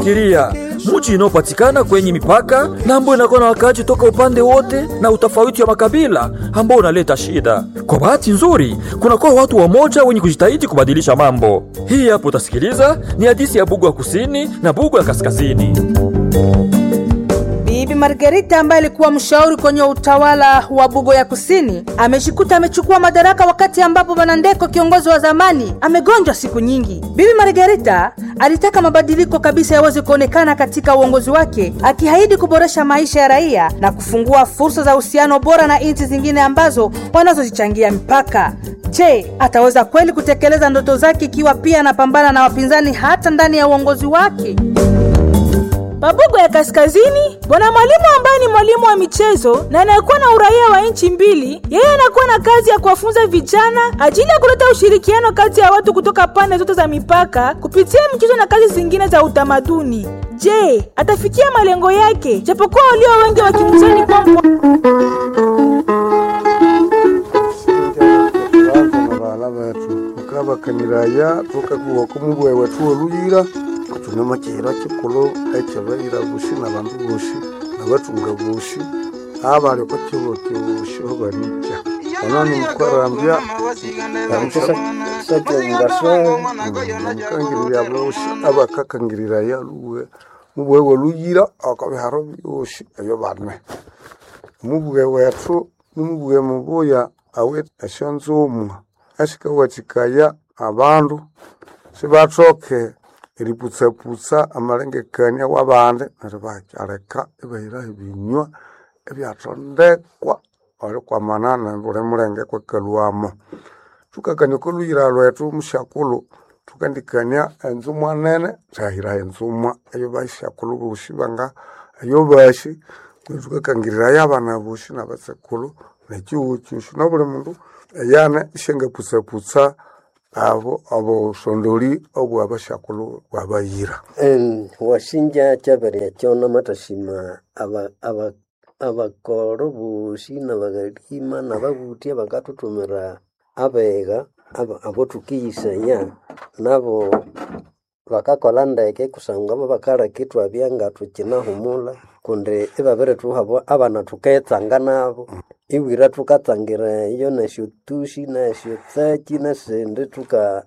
Fikiria muji inayopatikana kwenye mipaka na ambayo inakuwa na wakaaji toka upande wote na utofauti wa makabila ambao unaleta shida. Kwa bahati nzuri, kunakuwa watu wamoja wenye kujitahidi kubadilisha mambo. Hii hapo utasikiliza ni hadithi ya Bugu ya kusini na Bugu ya kaskazini. Bibi Margarita ambaye alikuwa mshauri kwenye utawala wa Bugo ya Kusini amejikuta amechukua madaraka wakati ambapo Bwana Ndeko kiongozi wa zamani amegonjwa siku nyingi. Bibi Margarita alitaka mabadiliko kabisa yaweze kuonekana katika uongozi wake, akiahidi kuboresha maisha ya raia na kufungua fursa za uhusiano bora na nchi zingine ambazo wanazozichangia mipaka. Je, ataweza kweli kutekeleza ndoto zake ikiwa pia anapambana na wapinzani hata ndani ya uongozi wake? Mabugo ya Kaskazini, bwana mwalimu ambaye ni mwalimu wa michezo na anayekuwa na uraia wa nchi mbili, yeye anakuwa na kazi ya kuwafunza vijana ajili ya kuleta ushirikiano kati ya watu kutoka pande zote za mipaka kupitia michezo na kazi zingine za utamaduni. Je, atafikia malengo yake? Japokuwa walio wengi wakimzani kwa Abana bethu thukabakaniraya thukakuwako mubughe wethu woluyira thune kyihira kyikulhu ekyabayira bosi nabandu bosi nabathunga bosi abali oko kihugho kyosi banikya ono nimukwarambya mukangirirya bosi abakakangiriraya lhuwe mubughe woluyira oko biharo byosi ebyo bane. Omubughe wethu nimubughe mubuya awithe esyonzumwa esikawathikaya abandu sibathoke eriputsaputsa amalengekania wabandi neryo ibakyaleka ibahiraho ebinywa ebyathondekwa erikwamana nabuli mulenge kwakalhwamo. Thukakania oko lhuyira lhwethu musyakulhu thukandikania enzumwa nene thahiraho enzumwa eyabaisyakulhu bosi banga eyobasi neryo thukakangiriraya abana bosi nabatsekulhu nekyihugho kyosi nabuli mundu eyane isyangaputsaputsa abo obusondoli obwabasyakulhu bwabayira. Wasinja kyabirya ekyo namathasima abakoro bosi nabaghalima nababuthi abakathuthumira abegha abothukiyisaya nabo bakakolha ndeke kusangwa bo bakaleka ithwabya ngathukyinahumulha kundi ibabirithuha abana thuketsanga nabo ibwira thukatsangira eyo nesyotusi nesyotsaki nesindi thuka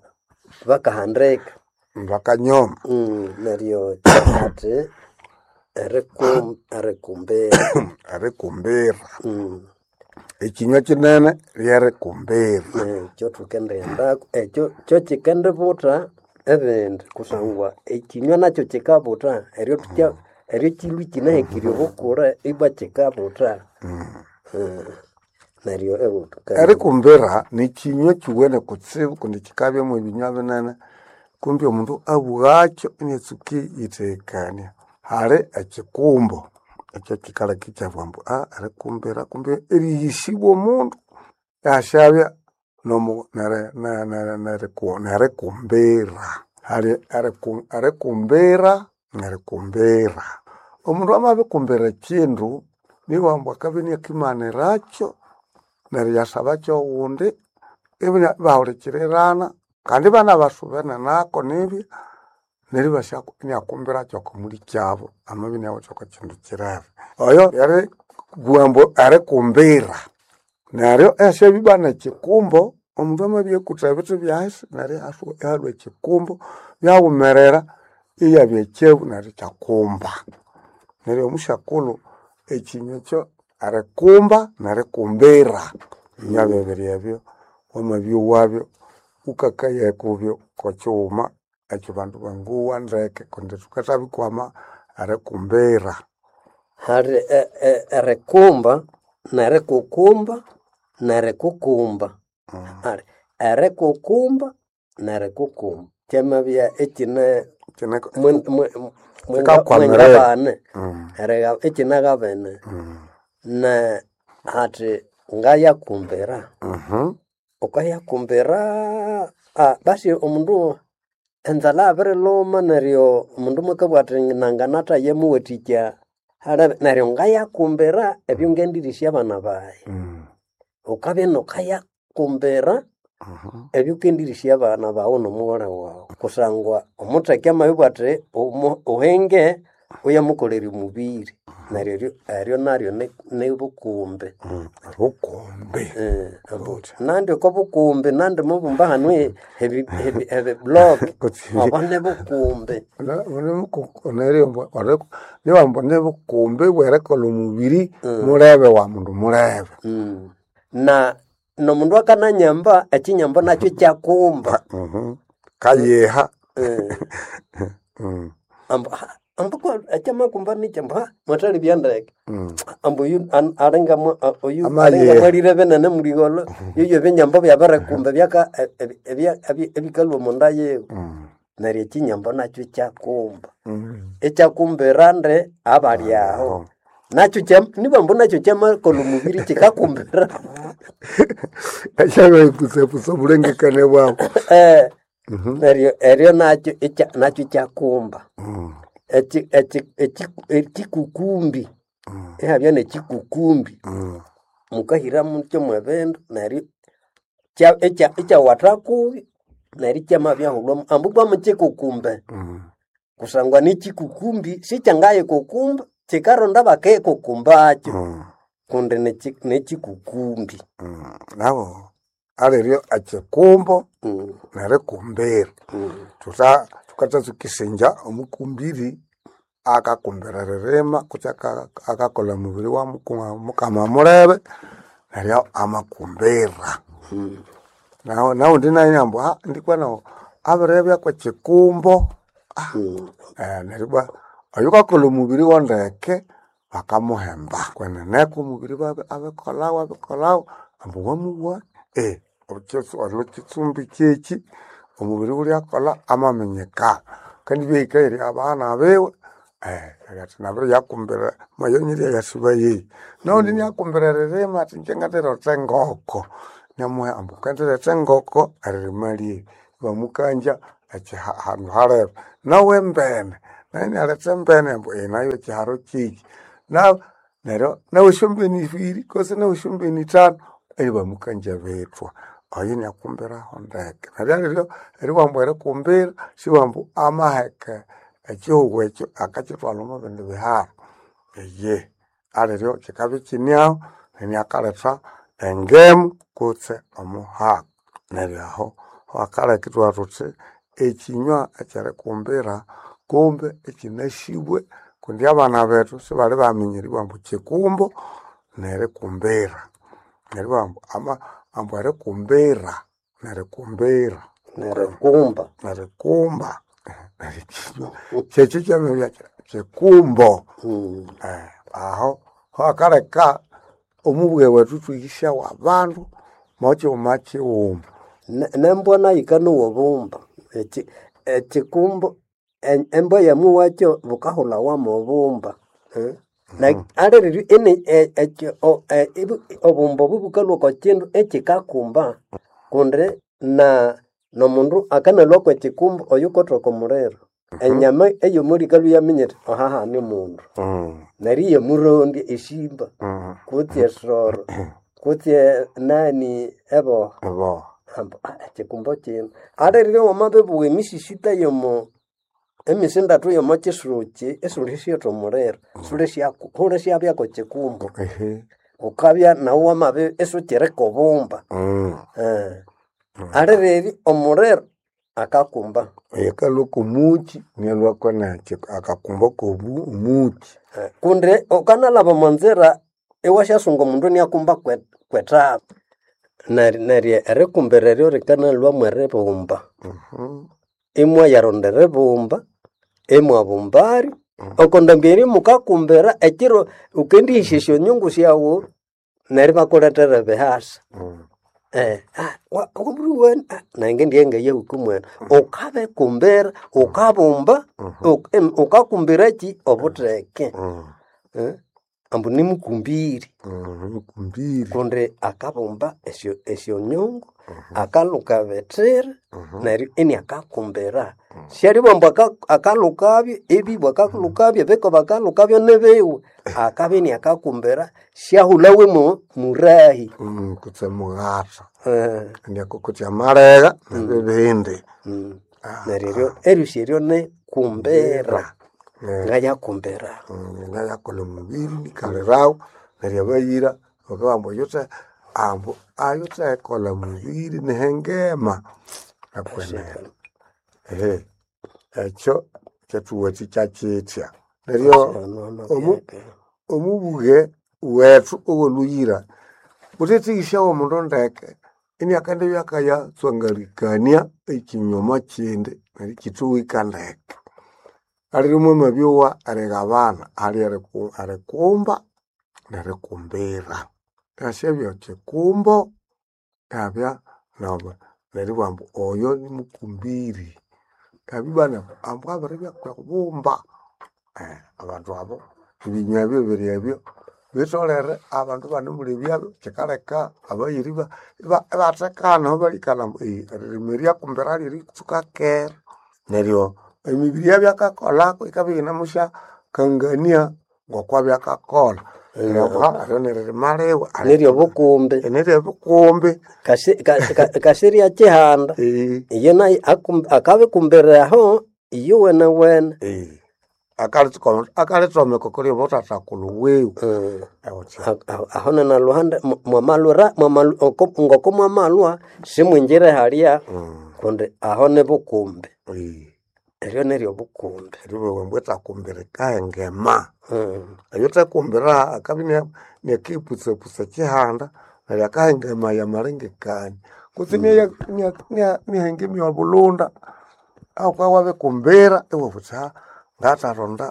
bakahandika Bakanyoma. Neryo athi erikumbira. Erikumbira. Ekinywa kinene lyerikumbira. Ekyo thukendighendako ekyo kyokikendibutha ebindi kusangwa ekinywa nakyo kikabutha eryo eryo kilhwa ikinahekirye obukura ibwa kikabutha neryo Erikumbira nikinywa kiwene kutsibu kundi kikabyamu ebinywa binene kumbi omundu abugakyo iniatsuka eriyithekania. Hali ekikumbo ekyo kikaleka ikyabugha ambu erikumbira kumbi erighesibwa omundu asyabya nerikumbira. Hali erikumbira nerikumbira. Omundu amabikumbira ekindu nibughambu ambu akabya iniakimanyirakyo neryo iyasabakyo oghundi ibahulikirirana kandi ibanabasubene nako nibya neryo iniakumbirakyoko okomulikyabo amabya iniawithe oko kindu kirebe. Oyo eribugha ambu erikumbira neryo ihasyabya ibwa nekikumbo omundu amabya akutha ebithi byahisi neryo ihalhwa ekikumbo byaghumerera iyabya ekyebu neryo ikyakumba. Neryo omusyakulhu ekinywa ekyo erikumba nerikumbira ebinywa bibiri ebyo wamabyowabyo wukakaya kubyo kokighuma ekyabandu bangowa ndeke kundi thukathabikwama erikumbira. Hali erikumba nerikukumba nerikukumba. Hali erikukumba nerikukumba kyamabya ikine mwingabane ikinagabene ne hathi ngayakumbira wukayakumbira basi omundu enzalha yabirilhuma neryo omundu mwakabugha athi nanganatha yamuwathikya neryo ngayakumbira ebyo ngendirisya abana bayi. Wukabya inawukayakumbira. Ebyo ukendirisya abana bawu n'omughole wawu kusangwa omutheke amabibugha athi uhinge uyamukolera omubiri neryo eryo eryo naryo nibukumbi. Bukumbi. Ambu nandi oko bukumbi nandi mubumba hanu ebiblock obo nibukumbi. Niwambu nibukumbi bwerikolha omubiri mulebe wa mundu mulebe. Na nomundu akananyamba ekinyambo nakyo ikyakumba. Kayiha. Ambu ambu ekyamakumba nikyi ambu mwathalibya ndeke. Ambu oyu alinga oyu alinga mwalire binene muligholho yoyo ebinyambo byabirikumba ebyaka ebikalhwa omunda yiwe. Neryo ekinyambo nakyo ikyakumba. Ikyakumbira ndi abali aho. Nakyo nibambu nakyo kyamakolha omubiri kikakumbira. Ekyabirikusapusa obulengekania bwabu. Neryo eryo nakyo nakyo ikyakumba. Ekikukumbi ihabya nekikukumbi mukahira mutya mwebindu neryo ikyawatha kubi neryo ikyamabyahulhwamu ambu ibwa mukikukumbe kusangwa nikikukumbi sikyangayikukumba kikaronda bakayikukumbakyo kundi nekikukumbi. Nabo aliryo ekikumbo nerikumbira. Thukathatsuka isingya omukumbiri akakumbira eririma kutse akakolha omubiri wa mukama mulebe neryo amakumbira. Nawundi nayu inabugha ambu ndikwa nawu abiribya kwekikumbo neryo ibwa oyukakolha omubiri wondeke bakamuhemba. Kwenene omubiri abikolhawu abikolhawu ambu wamubugha kitsumbi kyekyi omubiri ghulyakolha amaminyikana. Kandi ibya abana biwe athi nabiriyakumbira mayonyirya yasuba yeyi. Nawundi inyakumbira eririma athi ingye ngandiretha engoko inamuha ambu ghukandiretha engoko eririma lyeri. Ibamukangya handu halebe. Nawu embene nayu inyaletha embene ambu nayu ekiharo kyekyi. Neryo nawu esyombene ibiri kutse nawu esyombene ithanu ibamukangya bithwa. Oyo inyakumbiraho ndeke. Neryo aliryo eribugha ambu erikumbira sibugha ambu amaheka ekihugho ekyo akakyithwalha omo bindi biharo. Eyihi aliryo kyikabya ikyine aho inakaletha engemu kutse omuhaka. Neryo aho hakaleka ithwabugha thuthi ekinywa ekyerikumbira kumbe ikyinasibwe kundi abana bethu sibali baminya eribugha ambu kikumbo nerikumbira. Neribugha ambu erikumbira nerikumbira. Nerikumba. Nerikumba. Neryo ekinywa kyekyo kyamabya kikumbo. Aho hakaleka omubughe wethu ithwihisyawo abandu mokighuma kighuma. Nembwa nayo yikanowa obumba. Ekikumbo embwa yamuwakyo bukahulhawa mobumba. Aliryo obumba obu bukalhwa oko kindu ekikakumba kundi nomundu akanalhwa kwekikumbo oyukotha oko muliro. Enyama eyomuli yikalhwa iyaminya yithi aha hane omundu. Neryo iyamurondya esimba kutse esoro kutse nani eboha ambu ekikumbo kino. Aliryo wamabibugha emisisita yomo emisindathu yomo kisukyi isiwulisyotha omuliro hulisyabya kwekikumbo. Wukabya nawu wamabya isiwukiri kobumba. Aliryo omuliro akakumba. Akalhwa kwomukyi inalhwa kwenekyi akakumba kwomuki. Kundi wukanalhaba omwanzira iwasyasunga omundu iniakumba kwethabu. Neryo erikumbira eryo rikanalhwa mweribumba. Imwayaronda eribumba, imwabumbaryo. Okondambi eryo mukakumbira ekiro wukendihisa esyonyungu syawu neryo ibakulethera ebihasa. Nange ndighe ngayahuka mwene. Wukabikumbira, wukabumba, wukakumbira kyi obutheke. Ambu nimukumbiri. Mukumbiri. Kundi akabumba esyonyungu, akalhuka ebithira neryo iniakakumbira. Syalibugha ambu akalhukabyo ebibwa akalhukabyo ebikoba akalhukabyo nibiwe. Akabya iniakakumbira syahulhawe murahi. Kutse mughatha. Indi akokotya amalegha nebibindi. Neryo eryo eryosi eryo ni kumbira. Ngayakumbira. Ngayakolha omubiri nikalirawo neryo abayira bakabugha ambu oyuthe ambu ayuthekolha mubiri nihengema akwenene. Ehe ekyo kyathuwathikya kyithya. Neryo omubuge wethu owolhuyira wuthetheghĩsyawa omundu ndeke iniakendibya akaya tswangalikania ekinyuma kindi neryo ikyithuhika ndeke. Alire mwamabyowa erigabana, hali erikumba nerikumbira. Hasyabya kyikumbo ihabya neribugha ambu oyo nimukumbiri. Habya ibwa ambu abiribya kwibumba. Abandu abo ebinywa ebyo biri ebyo bitholere abandu ibanemulebyabyo kyikaleka abayira ibathekana aho balikalha ambu eririma eryakumbira lyeritsuka kera. Neryo emibiri eyabyakakolhako yikabya iyinemusyakangania ngokwabya akakolha. Neryo eryo niririma liwe. Neryobukumbi. Neryebikumbi. Kasirya kyihanda. Iye nayo akabikumbira aho iyowene wene. Akalitsomeka okuli buthathakulhu wiwe. Aho nanaluhande mwamalhwira ngoko mwamalhwa simwingire halya kundi aho nibukumbi. Eryo neryobukumbi. Eribugha ambu ethakumbira yikahengema. Oyuthekumbira akabya iniakipusapusya ekyihanda neryo akahengemaya amalengekania kutse iniahengemya obulunda ahakubya wabikumbira iwabugha wuthi ngatharonda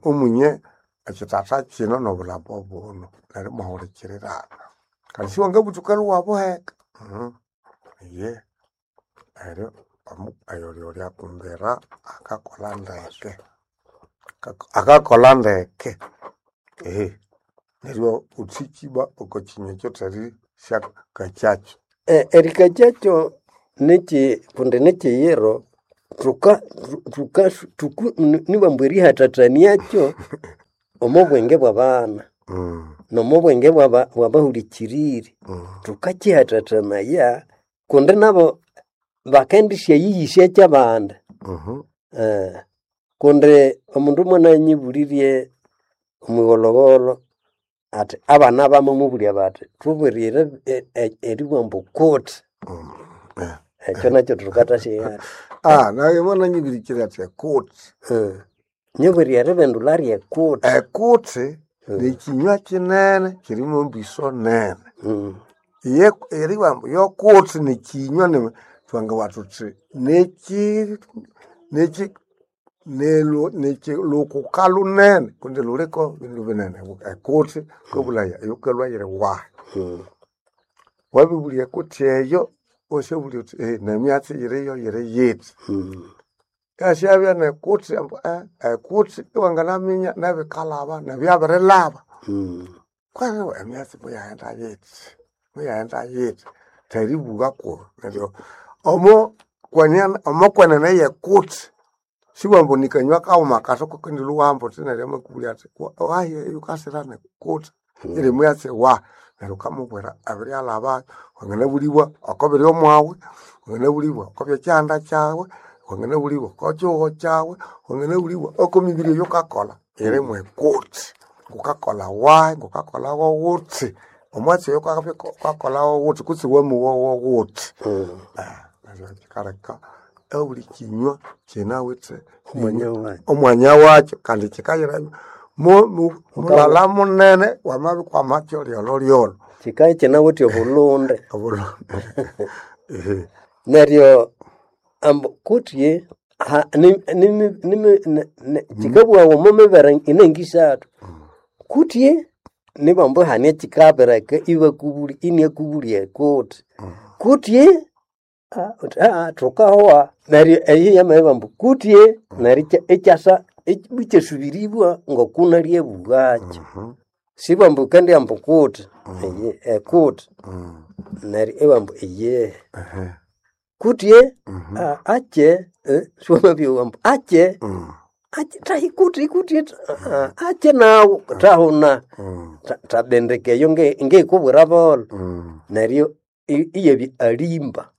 omunye ekyithatha kino nobulhambo buno neryo imwahulikirirana. Kandi siwangabuthuka lhwa iwabuheka eyihi. Neryo oyulyakumbira akakolha ndeke, akakolha ndeke. Neryo wuthikya ibwa oko kinywa ekyo therisyakakyakyo. Erikakyakyo nikyi kundi nikyiyiro nibambu erihathathaniakyo omo bwenge bwabana nomo bwenge bwabahulikiriri. Thukakyihathathanaya kundi nabo bakendisyayighisa kyabandi. Kundi omundu mwananyibulirye omwigholhogholho athi abana bamamubulya bathi thubwirire eribugha ambu kuti. Ekyo nakyo thukathasyighatha. Nayi mwananyibirikira athi ekuti. Nyibwire eribindulha ryekuti. Ekuti nikyinywa kyinene kyirimo embiso nene. Iye eribugha ambu yokuti nikyinywa thwangabugha thuthi nikyi lhukuka lunene kundi luliko bindu binene. Ekuti wukabulhaya eyikalhwa yiri wahi. Wabibulya ekuti eyo iwasyabulya wuthi nemyatsi eyiriyo yiri yithi. Ihasyabya nekuti ambu ekuti iwanganaminya nebikalhaba nebyabirilhaba. Kwenene emyatsi muyaghenda yithi, muyaghenda yithi theribugha kuru neryo omokwenene yekuti sibugha ambu nikanywa kaghuma kathi kukendilhwa iwahamba wuthi neryo amakubulya athi wahi eyukasira nikuti yiri myatsi wahi neryo wukamubwira abiryalhabayo. Wanganabulibwa oko biri omwawe, wanganabulibwa oko byekyihanda kyawe, wanganabulibwa oko kyihugho kyawe, wanganabulibwa oko mibiri eyukakolha yiri mwekuti. Ngukakolha wahi, ngukakolha wuthi, omwatsi oyo wukakolha wuthi kutse wamowa wuthi. Neryo kyikaleka obuli kinywa kyinawithe omwanya wakyo kandi kyikayira mulala munene wamabikwamakyo lyolholyolho. Kyikabya ikyinawithe obulhunde. Neryo ambu kutse kyikabughawa omo mibere inengisathu. Kutse nibambu ihane ekyikabireka ibakubulya iniakubulya ekuti. Kutse wuthi thukahowa neryo eyo yamabibugha ambu kutse neryo ikyasa ikyasubiribwa ngoku nalyabugha Sibugha ambu wukendibugha ambu kuti ekuti neryo ibabugha ambu eyihi. Kutse akye siwamabyowa ambu akye thahi kuti kuti akye nawu thahuna thabindika eyo ngikubwira bolho neryo. Iyabya alimba.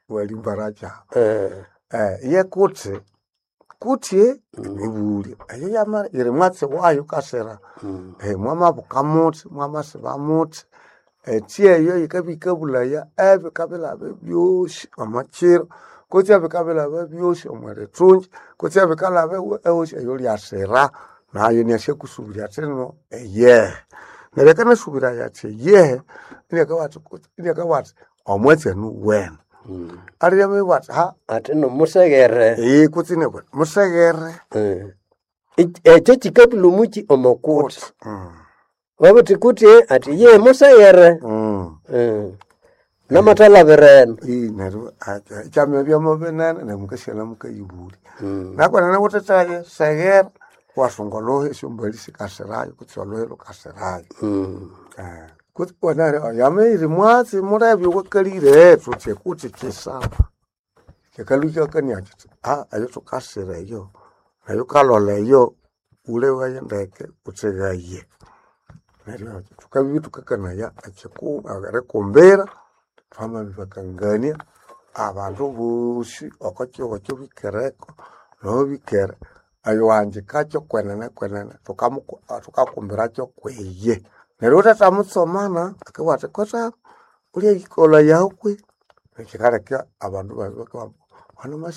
Walimbaracha. Eh, Ye kuti kuti emibulyo eyo yama yiri mwatsi wayo kasira mwamabuka muthi mwamasiba muthi eti eyo yikabya yikabulaya ebikabilaba byosi omo kiro kutse ebikabilaba byosi omo lithungi kutse ebikalaba ehosi eyo lyasira nayo inasyakusubirya athi ino eyehe. Neryo akanasubiraya athi eyehe inakabugha athi omwatsi enu wene. Alirya amabugha athi ha Ati nomuseghere. Kutse inabugha athi museghere. Ekyo kikabulha omuki omo kuti. Wabuthi kuti ati ye museghere. Namathalabira eno. Neryo ikyamabya binene neryo mukasyalha mukayibulya. Nakwenene wuthithaye segera iwasunga olhuhi esyombali sikasirayo kutse olhuhi lhukasirayo. Kutse neryo yamabya mwatsi mulebe owakalire thuthi kuti kyisaba. Kyakalhwa ikyakania kyithi eyo thukasira eyo nayo wukalholha eyo wulhebaye ndeke wutsighaye. Neryo thukabya ithukakanaya erikumbira thwamabibakangania abandu bosi oko kihugho ekyo bikireko noho bikere eyowanjikakyo kwenene kwenene thukakumbira kwiye. Neryo wuthethamutsomana akabugha athi kotha wulyayikolha kwe kyikaleka abandu babya bakabugha ambu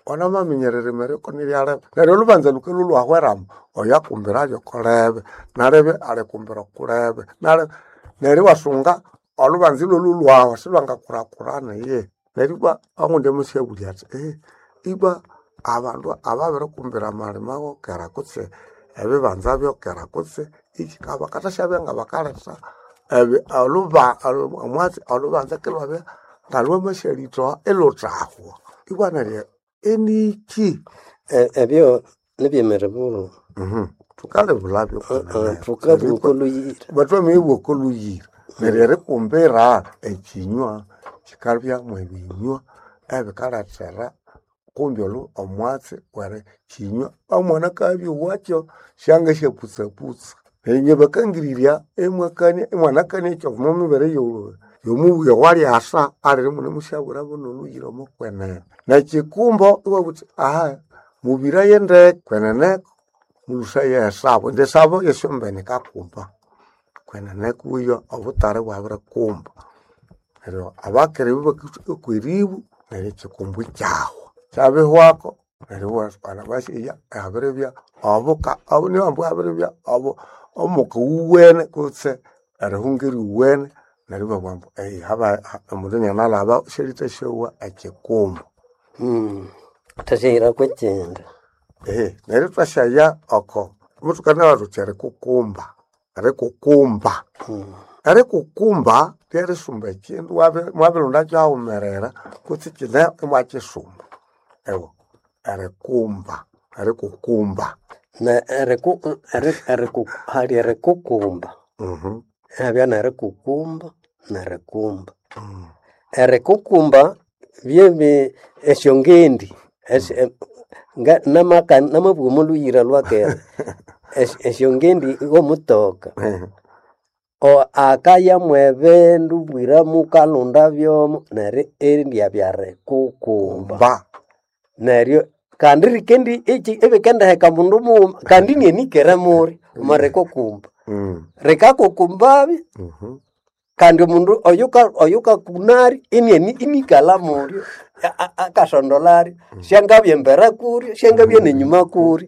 wanamaminya eririma eryo koniryalebe. Neryo olhubanza lhukalhwa lhwahweramu oyo akumbiralyo okolebe nalebe alikumbira okulebe nalebe neryo iwasunga olhubanza ilhwalhwa lhwahwa silhwangakulhakulhana eyihi. Neryo ibwa ogundi amasyabulya athi ibwa abandu ababirikumbira amalima wokera kutse ebibanza byokera kutse iki bakathasyabyabya ngabakaletha omwatsi olhubanza kilhwabya ngalhwamasyalhithoha ilhuthahwa. Ibwa neryo eniki? Ebyo nibyemiribulo. Thukalibulhabyo kwenene. Thukabugha okolhuyira. Thwamabibugha okolhuyira. Neryo erikumbira ekyinywa kyikalhya mwebinywa ebikalethera kumbi omwatsi weri kyinywa omwana akabya owakyo syangasyaputsaputsa. Neryo inye bakangirirya imwakania imwanakania ekyo omwamibere yomubuya owalyasa aliri imunemusyabwirabo nolhuyira omo kwenene. Nekyikumbo iwabugha wuthi aha mubiraye ndeke kweneneko mulhusaye esabo indi esabo yesyombene yikakumba. Kwenene kuyo obutali ibwabirikumba. Neryo abakere ibabakathuka kweribu neryo ekyikumbo ikyahwa. Kyabihwako neryo iwabasya abiribya obuka nibamba abiribya omuka owuwene kutse erihunga eriwene neryo ibabugha ambu omundu inianalhaba syalithasyowa ekyikumbo. Thwasyahira kwekyindi. Neryo ithwasyaya oko muthukanabugha thuthi erikukumba, erikukumba. Erikukumba ryerisumba ekyindu mwabirilhondakyo haghumerera kutse ikyine imwakyisumba. Ewa erikumba, erikukumba. Hali erikukumba. Ihabya nerikukumba nerikumba. Erikukumba byebi esyongendi namabugha omo lhuyira lhwakera esyongendi ghomutoka akaya mwebindu bwira mukalhonda byomo neryo eryabya rikukumba. Neryo kandi rikendi ibikendiheka mundu mughuma kandi inyenikere mulyo omo rikukumba. Rikakukumbabya kandi omundu oyukakunalyo inikalha mulyo akasondolhalyo syangabya embere kulyo syangabya nenyuma kulyo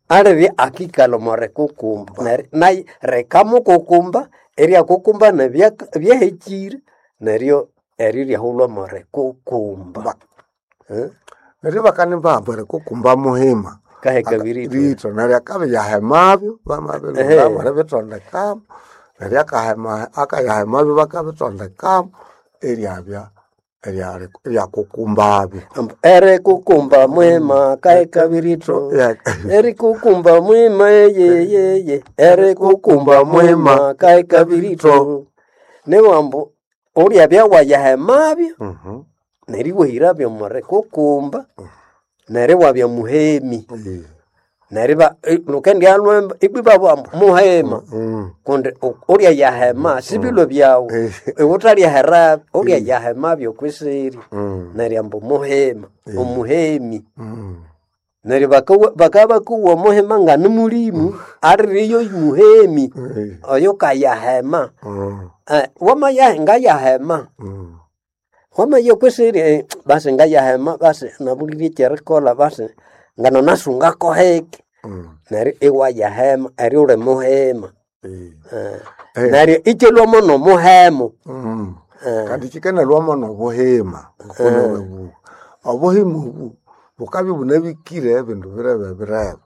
alibya akikalha omo rikukumba. Neryo nayo rikamukukumba eryakukumba nebyahekire neryo eryo iryahulhwa mo rikukumba. Neryo bakanibamba erikukumba muhima. Kaheka biritho. Biritho neryo akabya yahemabyo bamabirihulhamu eribithondekamu neryo akayahemabyo bakabithondekamu eryabya eryakukumbabyo. Erikukumba mwima kaheka biritho. Erikukumba mwima eyeyeye erikukumba mwima kaheka biritho. Niwambu ulyabya wayahemabyo neryo iwahirabyo omo rikukumba neryo iwabya muhemi. Neriba lukendialwemba ibwiba muhema kundi ulya yahema sibilwe byawu iwutalyahera ulya yahema byokwisiri neryo ambu muhema omuhemi neryo bakabakuwa omuhema nga ni mulimu aliriyo muhemi oyo kayahema. Wamaya ngayahema wamaya kwisiri basi ngayahema basi nabulirye ekyerikolha basi ngano nasungako heki neryo iwayahema eryo uli muhema. Neryo ikyalhwamo nomuhemu. Kandi kikanalwamo nobuhima ngokunababuwa obuhima obu bukabya ibunabikire ebindu birebe birebe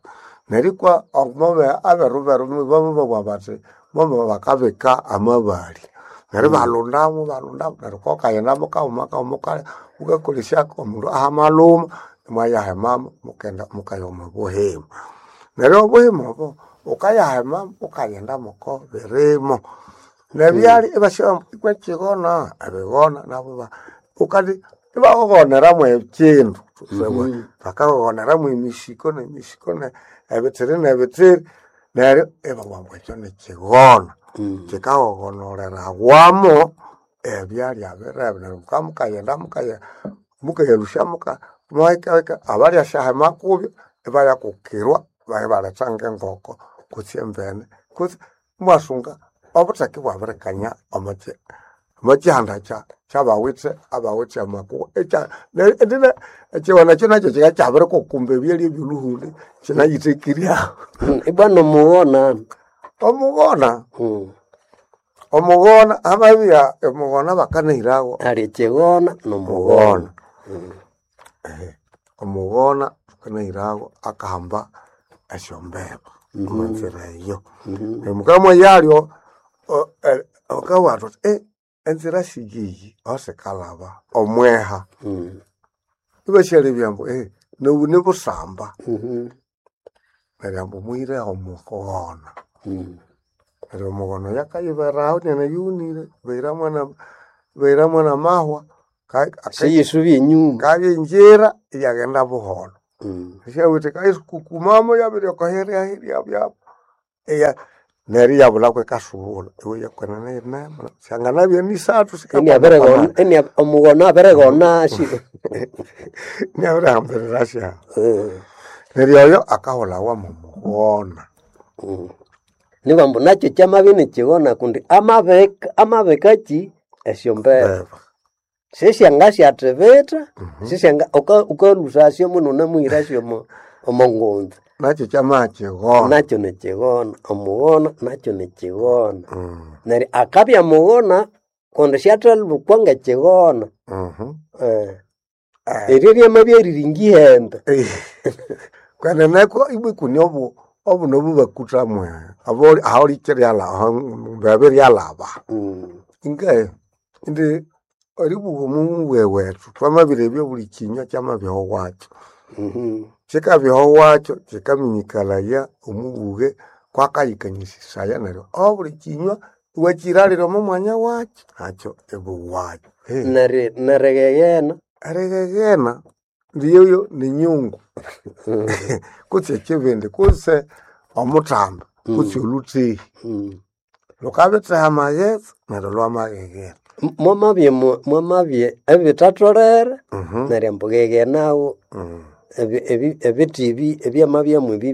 neryo ikwa omome aberu beru bamababugha bathi momo bakabika amabali neryo ibalhundamo balhundamo neryo kokaghenda kaghuma kaghuma wukakolesyako omundu ahamalhuma imwayahemamo mukenda mukaya omo buhima. Neryo obuhima obo wukayahema wukaghenda moko birimo nebyalya ibasya ikwa ekyigona ebigona nabo wukandi ibaghoghoneramo ekyindu bakaghoghoneramo emisiko nemisiko ebitsiri nebitsiri neryo ibabugha ambu ekyo nikyigona. Kyikaghoghonererewamo ebyalya birebe neryo mukabya mukaghenda mukayalhusya muhikahika abalyasyahema kubyo ibayakukirwa ibaletha ngengoko kutse embene kutse imwasunga obutheke ibwabirikanya omo kyihanda kyabawithe abawithe amakuha ekyigona ekyo nakyo kikabya ikyabirikukumba ebyalya ebyolhuhuli kyinayithekiryaho. Ibwa nomughona. Omughona omughona amabya omughona bakanahirawo ali ekyigona nomughona. Omughona thukanahirawo akahamba esyombeba omwanzira eyo. Neryo mukabya mwayalyo thukabugha thuthi enzira siyiyi ahosikalhaba omweha ibasyalebya ambu nobu nibusamba neryo ambu muhire omughona. Neryo omughona oyo akayiberaho inanayughunire bahiramu namahwa Siyisubya enyuma. kabya iyaghenda buholho. Syawithe kayisukukumamo yabiryoka hirya byabo neryo iyabulha kwikasubulha iwe yakwenene yinemo syanganabya nisathu Omughona abirighona asyo. inabirihambirira syaho. Neryo oyo akahulhawa mwomughona. Nibambu nakyo kyamabya inikyigona kundi amabika amabikaki esyombeba. Sisyangasyathibitha, sisyanga wukalhusasyo munu wunamuhirasyo omo ngunza. Nakyo kyamakyigona. Nakyo nikyigona, omughona nakyo nikyigona. Neryo akabya mughona kundi syathalhukwa ngekyigona. Eryo ryamabya riri ngihembe. Kwenene ibwa ikune obuno bubakuthamu aho ryalhaba. Ingahe indi eribugha omumbwe wethu twamabirebya obuli kyinywa kyamabya owakyo. Kyikabya owakyo kyikaminyikalhaya omubughe kwakayikanyisisaya neryo obuli kyinywa iwakyiralira omo mwanya wakyo nakyo ibuwakyo. Nerighehena. Erighehena ndiyoyo ninyungu kutse ekyibindi kutse omuthambi kutse olhuthehi. Lhukabitheha amaghetse neryo lwamaghehena. Mwamabya mwamabya ebithatholere neryo ambu gheghenawo ebithi ebi ebyamabyamu ebi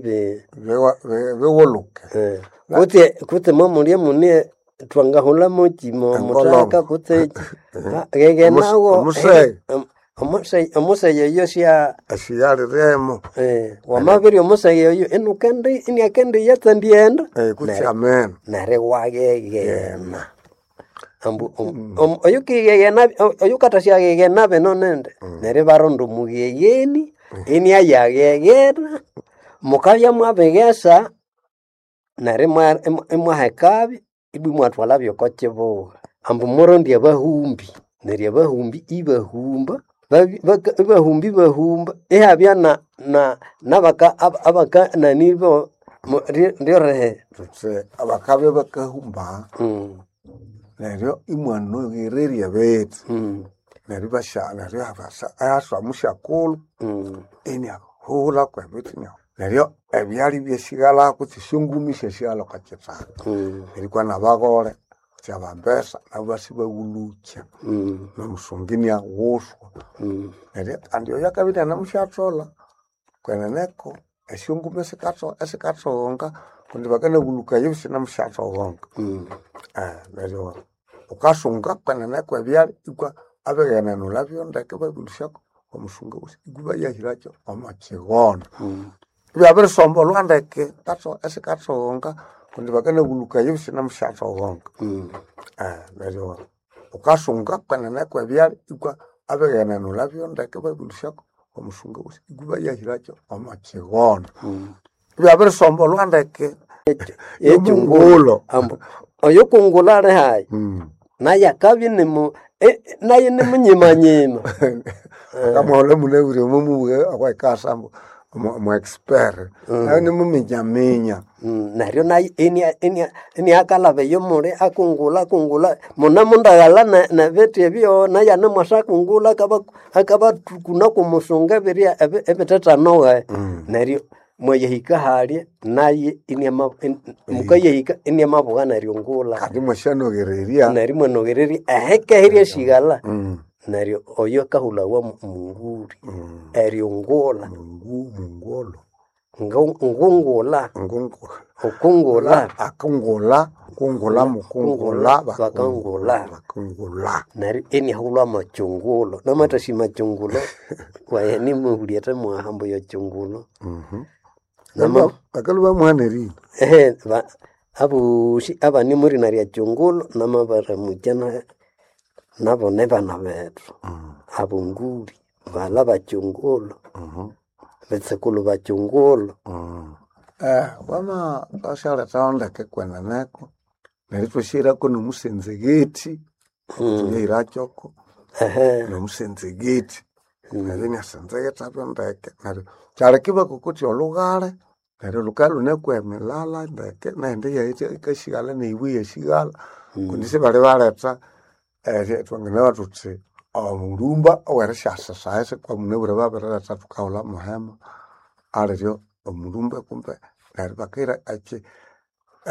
Bighulhuke. Kutse mwamulya mune twangahulhamoki muthaka kutse gheghenawo Omuseghe. omuseghe oyo sya Asiyaliremo. Wamabirya omuseghe oyo inukendi iniakendiya tsandighenda Kutse ameno. neryo iwagheghena. Ambu oyukighegena oyukathasyagheghena bino nindi neryo ibaronda omughegheni iniayagheghena mukabya mwabighesa neryo imwahekabyo ibwa imwathwalhabyo oko kibugha. Ambu murondye abahumbi neryo abahumbi ibahumba ibahumba ibahumba ihabya nabaka nani bo ryorehe. Thuthi bakabya bakahumba neryo imwanoghererya ebithi neryo ibasya neryo ihaswa musyakulhu iniahulha kwebithi. Neryo ebyalya ibyasighalha kutse esyongumi isyasighalha okwa kithaka. Nerikwa nabagole kutse abambesa nabo ibasibaghulukya. Nomusunga iniaghuswa. Neryo kandi oyo akabya inianamusyatholha kweneneko esyongumi esikathoghonga kundi bakanabulhukayo isinamusyathoghonga. Neryo wukasunga kweneneko ebyalya ikwa abighenenulhabyo ndeke ibabĩlhusyako omusunga wosi ibayahĩrakyo omo kighono. Ibyabirisombolhwa ndeke esikathoghonga kundi bakanabulhukayo isinamusyathoghonga. Neryo wukasunga kweneneko ebyalya ikwa abighenenulhabyo ndeke ibabĩlhusyako omusunga wosi ibayahĩrakyo omo kighono. Ibyabirisombolhwa ndeke Ekyungulo ambu oyukungula ali hayi naye akabya nimu naye nimunyimanyima. Akamwahulha munabwire mumubughe okwekasa ambu omu expert nayo nimuminyaminya. Neryo naye iniakalhaba eyo muli akungula akungula munemundaghalha nebithi ebyo naye anemwasa akungula akabathukuna kumusunga ebirya ebithethanowe. Neryo mwayahika halya naye mukayahika iniamabugha neryo ngula. Kandi mwasyanoghererya. Neryo imwanoghererya ehike eryassighalha. Neryo oyo akahulhawa munguli eryungula. Mungolo. Ngungula. Ukungula. Akungula, kungula mukungula bakangula. Bakungula. Neryo iniahulhwa makyungulo namathasi makyungulo waye nimubulyethe mwaha ambu yokyungulo. Bakalhwa bamuha nerina. Abosi abane mwirina rya kyungulo namabaramukya nabo nibana bethu abonguli balha bakyungulo bitsikulu bakyungulo. Wama thwasyalethaho ndeke kweneneko neryo ithwasyahirako nomusenzegethi thwayahirakyoko nomusenzegethi neryo iniasenzegethabyo ndeke neryo kyaleka ibakokotya olhughale neryo lhukabya lhunekwa emilala ndeke nehindi iyayikasighalha neyibwa iyasighalha kundi sibalibaletha thwanginabugha thuthi omulhumba owerisyasesa kwamunabwire babiriletha thukahulha muhema aliryo omulhumba kumbe neryo bakahira